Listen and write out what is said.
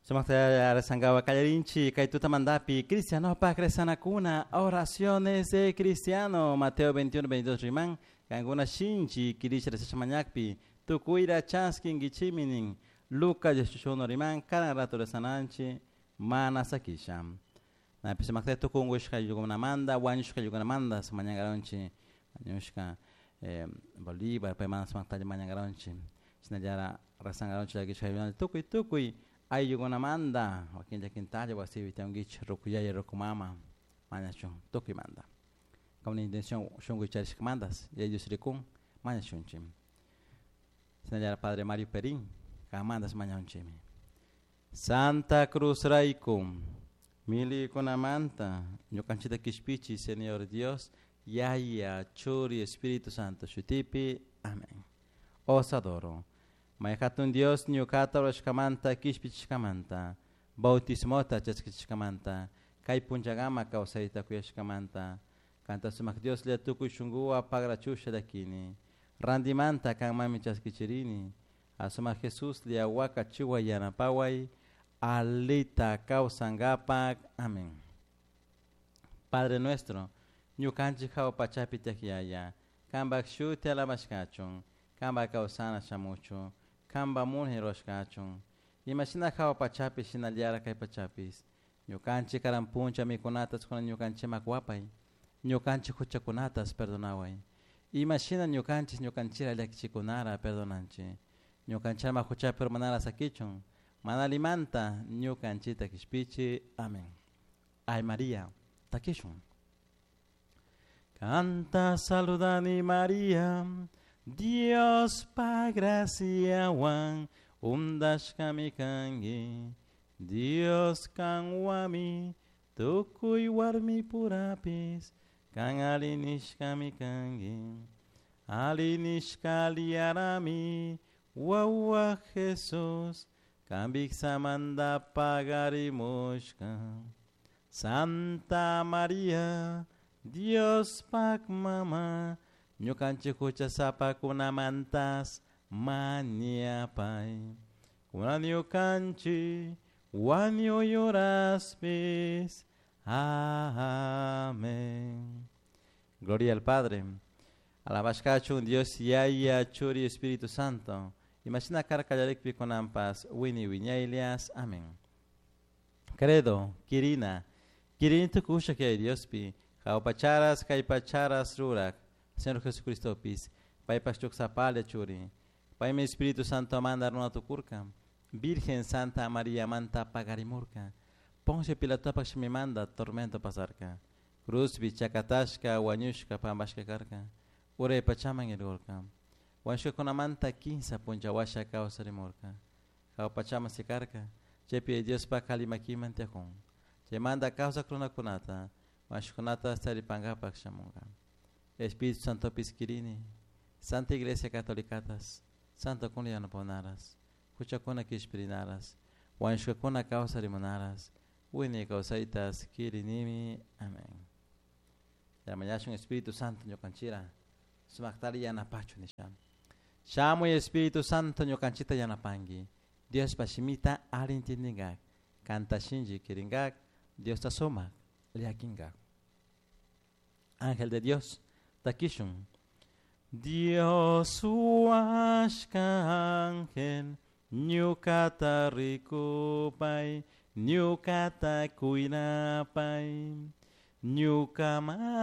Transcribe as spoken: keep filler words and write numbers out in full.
Sumaqta rezankawa kallarinchik kay tutamantapi cristianopak rezanakuna oraciones de cristiano Mateo veintiuno veintidós riman kankuna shinchi kirisha rezasha mañakpi tukuyra chaskinkichikmi nin Lucas dieciocho riman karan rato rezananchik mana sakisha. Napi sumaqta tukunkushka ayllukunamanta wañushka ayllukunamanta mañankaranchik wañushka Bolívar paymanta sumaqtalla mañankaranchik shinallara rezankaranchik llakishka ayllukunata tukuy tukuy ayllukunamanta wakin llakintalla wasipi tiyankichik ruku yaya ruku mama mañachun tukuymanta con intención shunku charishkamantas Yaya Dios rikun mañashunchik. Shinallara Padre Mario Perín kanmantas mañanchikmi. Santa Cruz rayku milikunamanta ñukanchikta kishpichi Señor Dios Yaya Churi Espíritu Santo shutipi. Amén. Os adoro. May hatun Dios ñukata rurashkamanta kishpichishkamanta bautismota chaskichishkamanta kay punllakama kawsayta kuyashkamanta kanta sumak Dioslla tukuy shunkuwan pagrachusha llakini rantimanta kanmanmi chaskichirini asumak Jesuslla wakachiway yanapaway alita kawsankapak. Amén. Padre nuestro ñukanchik hawa pachapi tiyak Yaya kanpak shuti alabashkachun kanpak kawsana shamuchun kanpak munay rurashkachun imashina hawa pachapi shinallara kay pachapis ñukanchik karan puncha mikunatas kunan ñukanchikman wapay ñukanchik huchakunatas perdonaway imashina ñukanchik ñukanchira llakichikunara perdonanchik ñukanchikman huchapi urmanara sakichun mana allimanta ñukanchikta kishpichi. Amén. Ay María, takishun. Canta saludani María, Dios pa graciawan undashkami kanki, Dios kanwami tukuy warmi purapis kan alinishkami kanki, alinishka aliyarami wawa Jesús kambiksamanta pagarimushka. Santa María, Dios pak mama, ñukanchik huchasapakunamantas mañapay. Kunan ñukanchik wañuy horaspis. Amén. Gloria al Padre. Alabashkachun Dios Yaya Churi Espíritu Santo. Imashina karka kallarikpi kunanpas wini wiñaylias. Amén. Credo, Kirina, Kirini tukusha kay Diospi, jawpacharas kaypacharas rurak, Señor Jesucristopis, paypak chuksapalla churi, paymi Espíritu Santo manda runa tukurka, Virgen Santa María manta pagarimurka, Poncio Pilatopak shimimanta tormento pasarka, cruzpi chakatashka wañushka pampashka karka, uray pachaman irkurka, wañushkakunamanta kinsa puncha washa kawsarimurka, jawpachaman sikarka, chaypi Diospak alli makiman tiyakun, chaymanta kawsak runakunata, wañushkakunata taripankapak shamunka. Espíritu Santo kirini, Santa Iglesia Catolicatas, Santo kuna yanapanaras, huchakuna kishpirinaras, wañushkakuna kawsarimunaras, wiñay kawsaytas kirinimi. Amén. Mañashun Espíritu Santo ñukanchira, sumaktari yanapachu nisha. Shamuy Espíritu Santo ñukanchita yanapanki, Diospa shimita alli intindingak, kanta shinchi kiringak, Diosta sumak llakinkak. Ángel de Dios, takishun. Dios huashka ángel, ñukata rikupay, ñukata cuidapay, ñukamanta